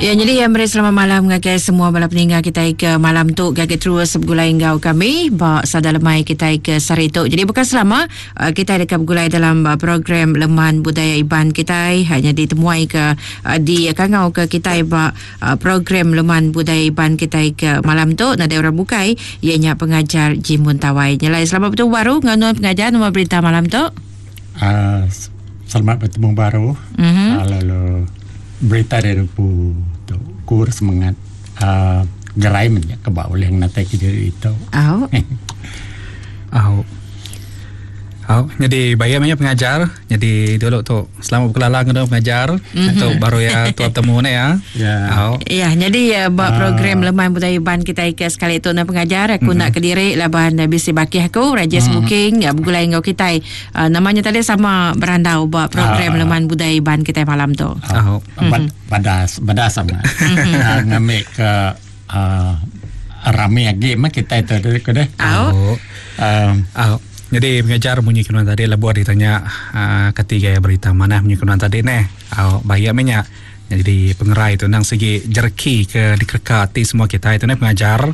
Ya, jadi yang beri selamat malam ngagai semua bala peninggal kita ke malam tu gagi terus bergulai enggau kami ba sada lemai kita ke sehari tu. Jadi bukan selama uh, kita dekat bergulai dalam uh, program Leman Budaya Iban kita hanya ditemuai ke uh, di kangau ke kita ba uh, program Leman Budaya Iban kita ke malam tu nadai orang bukai ianya pengajar Jimun Tawai. Nyelai selamat bertemu baru dengan pengajar nombor berita malam tu. Uh, selamat bertemu baru. Mm-hmm. Uh, lalu berita dari pu tu kur semangat uh, gerai men ke ba ulih ngenatai ke diri itu. Au. Au. Au, jadi bayar banyak pengajar. Jadi dulu tu selamat berkelala dengan pengajar. Mm-hmm. Tu baru ya tuan temu ni ya. Ya. Au. Ya, jadi uh, buat program Leman Budaya Iban kita ke sekali tu nak pengajar aku mm-hmm. nak kediri laban bisi bakih aku Rajesh mm-hmm. Booking ya bergulai enggau kita Uh, namanya tadi sama berandau buat program uh, Leman Budaya Iban kita malam tu. Uh, uh, badas badas sama. uh, ngambil ke uh, rame lagi mah kita itu dulu ke deh. Oh. Um, oh. Jadi pengajar bunyi kenuan tadi lebuh ditanya uh, ketiga berita mana bunyi kenuan tadi neh. Oh, bahaya minyak. Jadi pengerai tu nang segi jereki ke dikerka hati semua kita itu neh pengajar.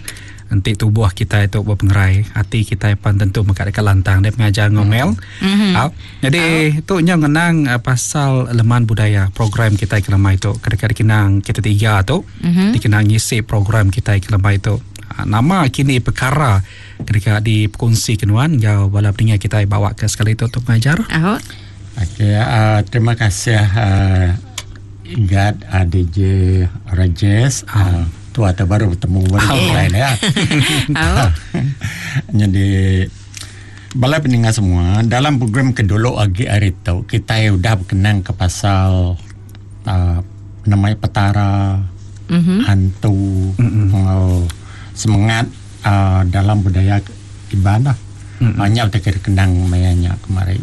Enti tubuh kita itu bepengerai, ati kita pan tentu mega deka lantang deh pengajar ngomel. Mm-hmm. Au. Jadi oh. tu nya ngenang uh, pasal leman budaya program kita ke lemai tu. Kedeka dikenang kita tiga tu, mm-hmm. dikenang ngisi program kita ke lemai tu. Uh, nama kini perkara kedeka dikongsi kenuan enggau bala peninga kita bawa ke sekali tu untuk pengajar. Oh. Okey, uh, terima kasih uh, Igat uh, DJ Rajesh. Uh, tu atau baru bertemu baru oh. lain ya. Oh. Jadi bala pendengar semua dalam program kedulu agi hari tu kita udah berkenang ke pasal uh, namanya petara mm-hmm. hantu mm-hmm. Uh, semangat uh, dalam budaya Iban lah. Mm-hmm. Banyak uh, kita kenang mayanya kemarin.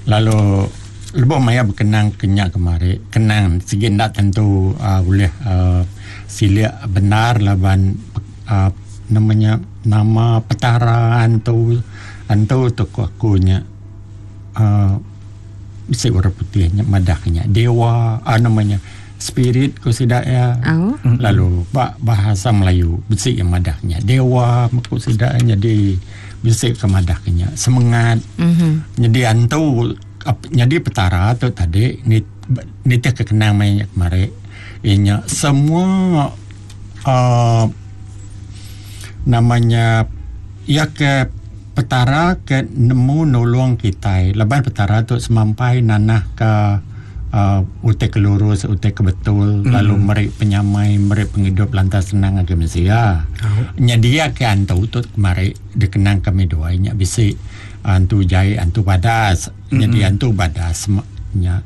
Lalu lebuh maya berkenang kenyak kemari kenang sigi enda tentu uh, boleh uh, silik benar laban uh, namanya nama petara antu antu tu ku aku nya uh, bisi orang putih nya madah nya dewa uh, namanya spirit ku sida ya oh. Lalu ba bahasa Melayu bisi yang madah nya dewa ku sida jadi bisi ke madah nya semangat mm-hmm. Jadi antu jadi petara tu tadi nitih ke kenang mai kemari inya semua uh, namanya ia ke petara ke nemu nulung kitai laban petara tu semampai nanah ke uh, utai ke lurus utai ke betul mm. lalu meri penyamai meri pengidup lantas senang agi mensia oh. Nya dia ke antu tu kemari dikenang kami dua nya bisi antu jai antu badas mm-hmm. Jadi antu badas nya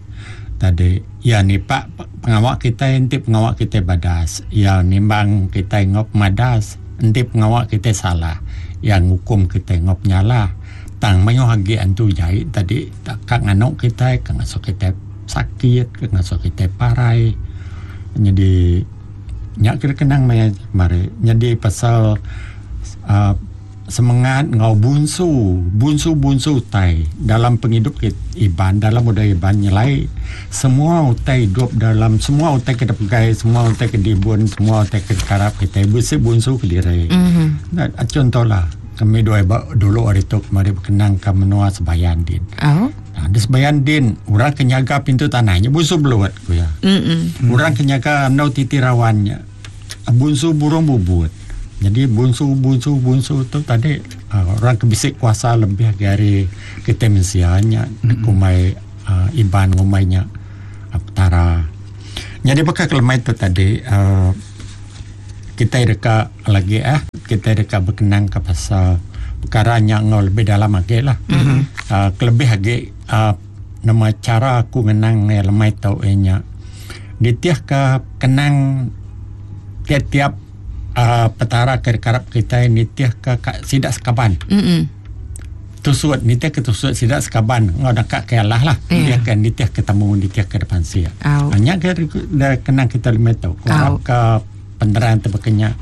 tadi ya ni pak pengawak kita enti pengawak kita badas ya nimbang kita ngop madas enti pengawak kita salah yang hukum kita ngop nyalah tang mayuh agi antu jai tadi tak nganuk kita kang ngasuh kita sakit kang ngasuh kita parai jadi nya kira kenang maya mari jadi pasal uh, semangat ngau bunsu bunsu bunsu utai dalam penghidup Iban dalam budaya Iban nyelai semua utai hidup dalam semua utai ke pegai semua utai ke dibun semua utai ke karap kita bisi bunsu ke diri mm-hmm. Nah, contohlah kami dua dulu hari tu kemari berkenang ke menua Sebayan din oh. Nah, di Sebayan din orang kenyaga pintu tanahnya bunsu beluat ku ya mm-hmm. Orang kenyaga nau titi rawannya bunsu burung bubut. Jadi bunsu bunsu bunsu tu tadi uh, orang kebisik kuasa lebih dari kita mensianya mm-hmm. kumai uh, Iban ngumainya uh, petara. Jadi bakal kelemai tu tadi uh, kita deka lagi eh kita deka berkenang ke pasal perkara yang lebih dalam lagi lah. Mm-hmm. Uh, kelebih lagi uh, nama cara aku ngenang lemai tau nya. Ditiah ke kenang tiap-tiap Uh, petara ke karap kita nitih ke sidak sekaban. Mm-hmm. Tusut nitih ke tusut sidak sekaban ngau dekat ke Allah lah. Yeah. Dia ke nitih ke temu nitih ke depan sia. Oh. Hanya ke kenang kita lima tau. Kurang ke penerang terbekenya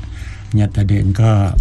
nya tadi engka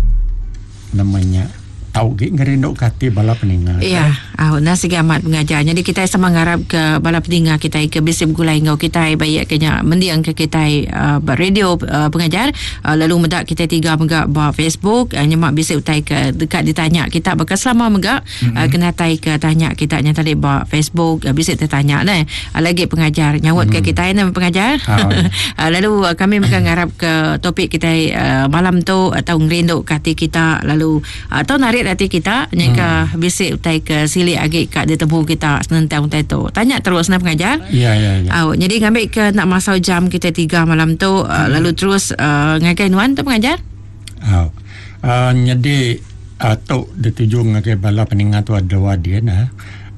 namanya tau gi ngerinduk hati bala peninga. Ya. Au nah sigi amat pengajar. Nyadi kitai sama ngarap ke bala peninga kitai ke bisi begulai enggau kitai baik ke nya mending ke kitai uh, ba radio uh, pengajar uh, lalu meda kitai tiga mega ba Facebook uh, nyema bisi utai ke deka ditanya kita baka selama mega mm-hmm. uh, kena tai ke tanya kita nya tadi ba Facebook uh, bisi tertanya neh. Uh, lagi pengajar nyaut ke kitai neh pengajar. Uh, lalu uh, kami mega ngarap ke topik kitai uh, malam tu atau ngerindu ke ati kita lalu Tau narit ati kita nyangka hmm. bisi utai ke silik agi ka ditemu kita senentang utai tu. Tanya terus nah pengajar. Ya ya ya. Au jadi ngambi ke nak masau jam kita tiga malam tu hmm. lalu terus uh, ngagai nuan tu pengajar. Au. Uh, jadi uh, tu dituju ngagai bala peninga tu ada dia nah.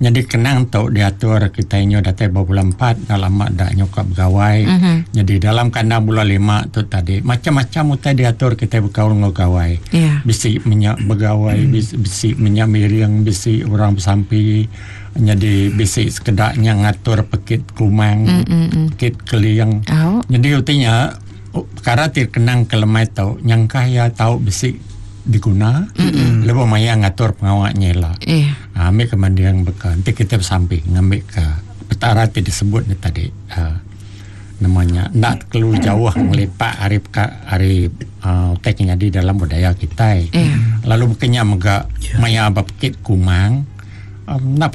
Nyadi kenang tu diatur kitai nyu datai ba bulan empat enda lama da nyuka begawai. Mm-hmm. Nyadi dalam kandang bulan lima tu tadi macam-macam utai diatur kitai bekaul enggau gawai. Yeah. Bisi menya begawai, mm. bisi, bisi menya miring, bisi orang besampi. Nyadi bisi sekeda nya ngatur pekit kumang, mm-hmm. pekit keling. Oh. Nyadi utai nya perkara ti kenang ke lemai tu nyangka iya tau bisi diguna mm-hmm. lebuh maya ngatur pengawa nya ila. Yeah. Ha, ambil ke manding beka enti kita besampi ngambil ke petara ti disebut ni tadi ha, namanya enda kelu jauh ngelipak ari ari uh, utai ke nyadi dalam budaya kitai. Yeah. Lalu bekenya mega yeah. maya bepekit kumang um, enda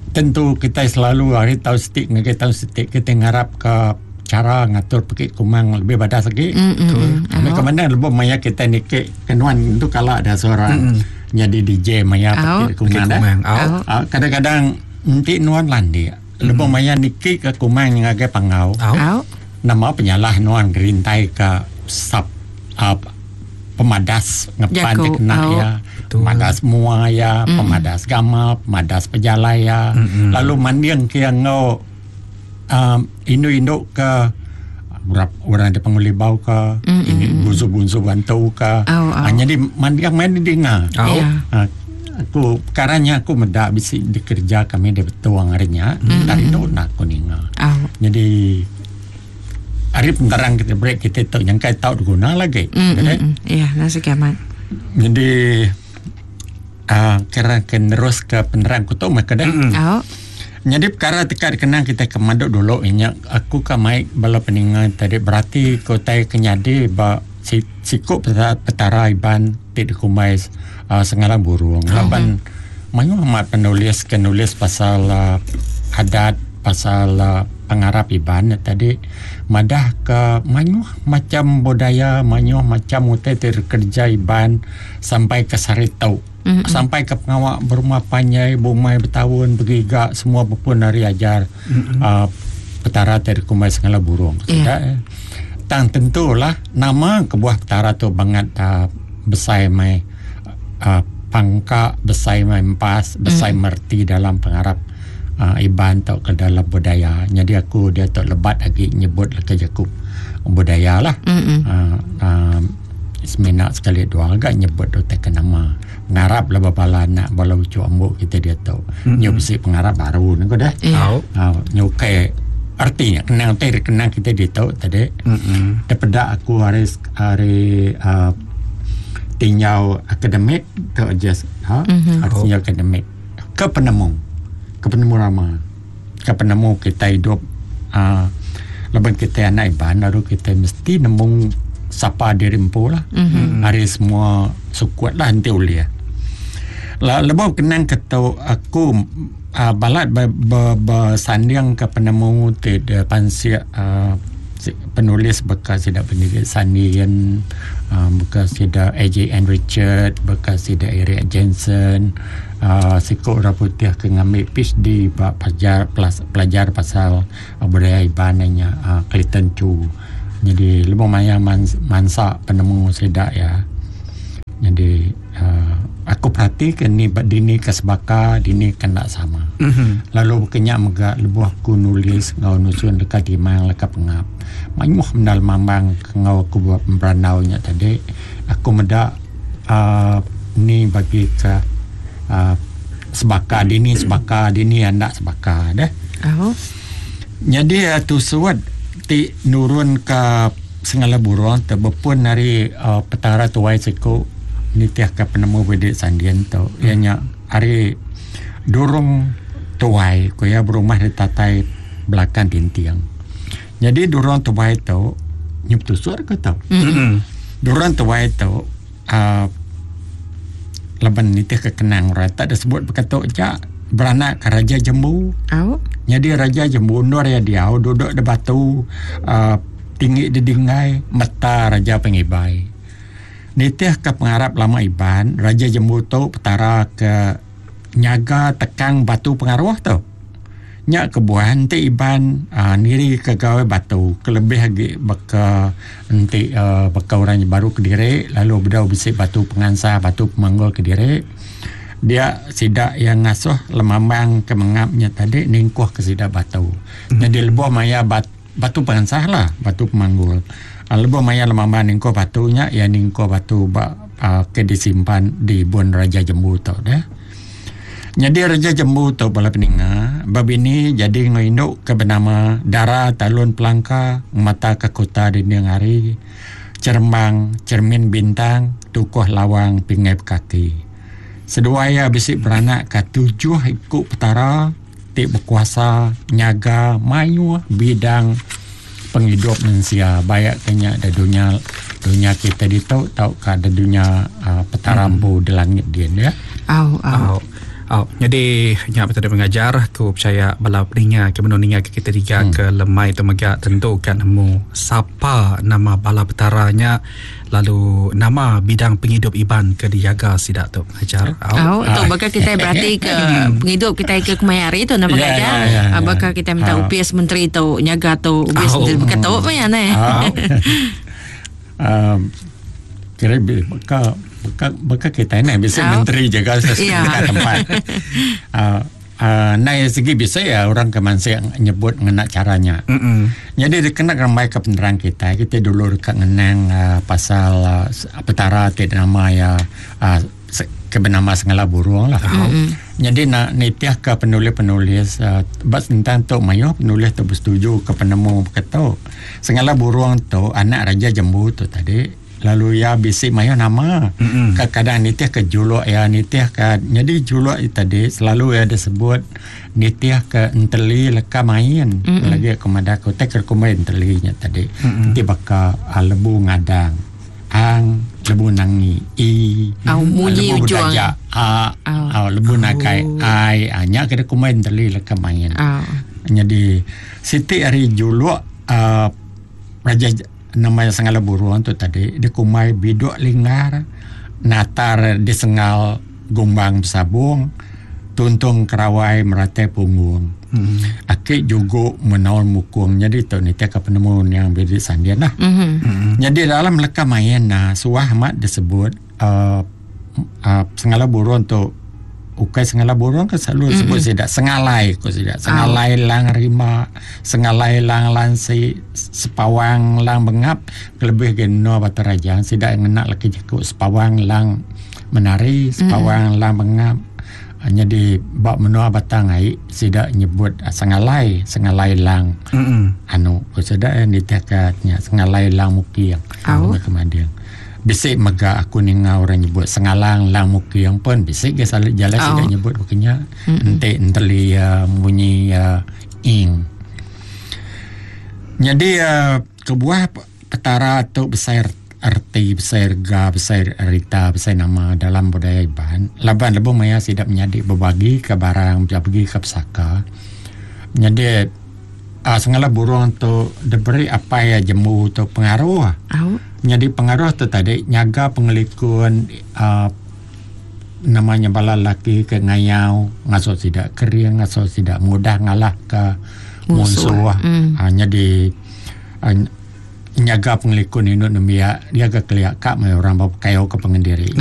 tentu kitai selalu hari tahun setik ngagai tahun setik kita ngarap ke cara ngatur pekit kumang lebih badas lagi. Mm, mm, mm. Ambil ke mana lebuh maya kita nikik kenuan tu kala ada seorang mm. jadi DJ maya pekit kumang dah. Oh. Kadang-kadang enti nuan landik lebuh maya nikik ke kumang ngagai pangau. Oh. Nama penyalah nuan gerintai ke sub uh, pemadas ngepan ti kena oh. ya. Pemadas mua ya, mm. pemadas gamal, pemadas pejalai ya. Mm-hmm. Lalu manding ke yang ngau um, indu-indu ke orang di Pangulibau ke mm-hmm. ini bunsu-bunsu bantu ke oh, oh. Ha, jadi mandiang main dinga oh. Yeah. Ha, aku perkaranya aku meda bisi dikerja kami di betuang harinya mm-hmm. dari tu nak aku ninga oh. Jadi hari penerang kita break kita tu yang kai tau guna lagi mm-hmm. Jadi ya nasi kiamat jadi uh, kira ke nerus ke penerang ku tu maka dah mm-hmm. Oh. Jadi perkara teka dikenang kita ke maduk dulu inya aku ka mai bala peninga tadi berarti ke utai ke nyadi ba siku petara Iban ti dikumbai uh, Sengalang Burung. Oh. Laban mayuh amat penulis ke nulis pasal uh, adat pasal uh, pengarap Iban tadi madah ke mayuh macam budaya mayuh macam utai ti kerja Iban sampai ke saritu. Mm-hmm. Sampai ke pengawak berumah panjai, bumai bertahun, bergiga, semua berpun hari ajar mm-hmm. petara ti dikumbai Sengalang Burung. Yeah. Yeah. Tang tentulah nama kebuah petara tu bangat besai mai pangka, besai mai empas, besai merti dalam pengarap Iban atau ke dalam budaya. Jadi aku dia tu lebat lagi nyebut leka jaku budaya lah. Mm-hmm. Semina sekali dua agak nyebut tu tak nama pengarap lah bala anak bala ucu ambuk kita dia tu. Mm-hmm. Nyu bisi pengarap baru ni ko dah. Yeah. Oh. Nyu ke artinya kenang te kenang kita dia tu tadi. Mm-hmm. Terpedak aku hari hari tinjau akademik tu just ha mm-hmm. artinya akademik ke penemu rama ke penemu kita hidup laban kita anak Iban lalu kita mesti nemu sapa diri empu lah. Mm-hmm. Hari semua sekuat lah nanti ulia. La lebuh kenang ketu aku balat bersanding ke penemu ti de pansik penulis bekas sida Benedict Sandian, bekas sida AJN Richard, bekas sida Eric Jensen, siku orang putih ke ngambil PhD ba pelajar pasal budaya Iban nya Clayton Chu. Jadi lebuh maya mansa penemu sida ya. Jadi aku perhatikan ni dini ke sebaka dini kena sama. Mm-hmm. Lalu kenyak mega lebuh aku nulis ngau nusun dekat timang leka pengap. Mayuh mendal mambang ngau aku buat pemberanau nya tadi. Aku meda ni bagi ke sebaka dini sebaka dini anak sebaka deh. Oh. Jadi tu suat ti nurun ke Sengalang Burung terbepun dari petara tuai siku nitih ke penemu Benedict Sandian tu. Ianya hari Durong Tuai ku iya berumah di tatai belakang tinting. Nyadi Durong Tuai tu nyu betusur ke tu. Durong Tuai tu uhh laban nitih ke kenang orang tak disebut baka tu aja beranak ke Raja Jembu. Nyadi Raja Jembu endur iya diau duduk da batu uhh tinggi didingai meta Raja Pengibai. Nitih ke pengarap lama Iban Raja Jembu tu petara ke nyaga tekang batu pengaruh tu. Nya kebuah enti Iban uhh niri ke gawai batu kelebih agi baka enti uhh baka orang baru kediri lalu bedau bisi batu pengansah batu pemanggul kediri dia sida iya ngasuh lemambang ke mengap nya tadi ningkuh ke sida batu. Nyadi lebuh maya bat batu pengansah lah batu pemanggul uhh lebuh maya lemambang ningkuh batu nya iya ningkuh batu ba uhh ke disimpan di bun Raja Jembu tu deh. Nyadi Raja Jembu tu bala peninga bebini jadi enggau indu ke benama Dara Talun Pelangka ngemata ke kuta dinding hari Cherembang Chermin Bintang Tukuh Lawang Pingai Bekaki. Seduai iya bisi beranak ka tujuh iku petara ti bekuasa nyaga mayuh bidang pengidup mensia baik ke nya da dunya dunya kitai ditu tauka da dunya uhh petara empu da langit din ya. Au au. Au. Au. Nyadi nya betul pengajar aku percaya bala peninga ke menu ninga ke kita tiga hmm. ke lemai tu mega tentu ka nemu sapa nama bala petara nya lalu nama bidang pengidup Iban ke dijaga sida tu pengajar. Au. Au tu baka kita berarti ke pengidup kita ke kemaya hari tu nama pengajar. Yeah, yeah, yeah, baka kita minta upis menteri tu nyaga tu upis menteri baka tu meh ya neh. Um, kira baka baka baka kita ni bisa menteri jaga sesuatu yeah. tempat. Uh, uh, nai segi bisa ya orang ke mansik nyebut ngena caranya. Mm -mm. Jadi dikena rambai ke penerang kita, kita dulu dekat ngenang uh, pasal uh, petara ti nama ya uh, ke benama Sengala Burung lah. Mm -hmm. Jadi nak nitih ke penulis-penulis uh, bab tentang tu mayuh penulis tu bersetuju ke penemu beketu. Sengala Burung tu anak Raja Jembu tu tadi lalu ia bisi mayuh nama. Mm -hmm. Kadang nitih ke juluk ia nitih ke jadi juluk ia tadi selalu ia disebut nitih ke enteli leka main. Mm -hmm. Lagi aku madah aku tek kumbai enteli nya tadi. Mm -hmm. Ti baka uh, lebu ngadang. Ang lebu nangi i Au munyi lebu ujung. bedaja a Au. au lebu nakai ai ah, nya ke kumbai enteli leka main. Au. Nyadi siti ari juluk uh, raja nama Sengala Burung tu tadi dikumbai Biduk Linggar natar di Sengal Gumbang Besabung Tuntung Kerawai Meratai Punggung. Hmm. Aki jugo menaul mukung nyadi tu nitih ka penemu niang Bidi Sandin lah. Mm-hmm. Hmm. Nyadi dalam leka main nah suah amat disebut uh, uh, sengala burung tu ukai sengala burung ke selalu sebut mm-hmm. sida sengalai ko sida sengalai oh. lang rima sengalai lang lansi sepawang lang bengap kelebih ke no batu raja sida ngena laki jaku sepawang lang menari sepawang mm-hmm. lang bengap Nyadi ba menua Batang ai sida nyebut Sengalai, Sengalai Lang. Mm-mm. Anu ku sida iya nitihka nya Sengalai Lang Muking. Au. Ke Mading. Bisi mega aku ninga orang nyebut Sengalang Lang Muking pun bisi ga selalu jalai sida Au. nyebut baka nya. Enti enteli iya munyi iya ing. Nyadi iya kebuah Petara tu besai reti, besai rega, besai rita, besai nama dalam budaya Iban laban lebuh maya sida menyadi bebagi ka barang bebagi ka pesaka nyadi uhh sengala burung tu diberi apai iya jembu tu pengaruh. Nyadi pengaruh tu tadi nyaga pengelikun uhh nama nya bala lelaki ke ngayau ngasuh sida kering ngasuh sida mudah ngalah ka munsuh uhh nyadi. Nyaga pengelikun indu nembiak dia ga kelia ka meh orang ba pekayau ke pangan diri.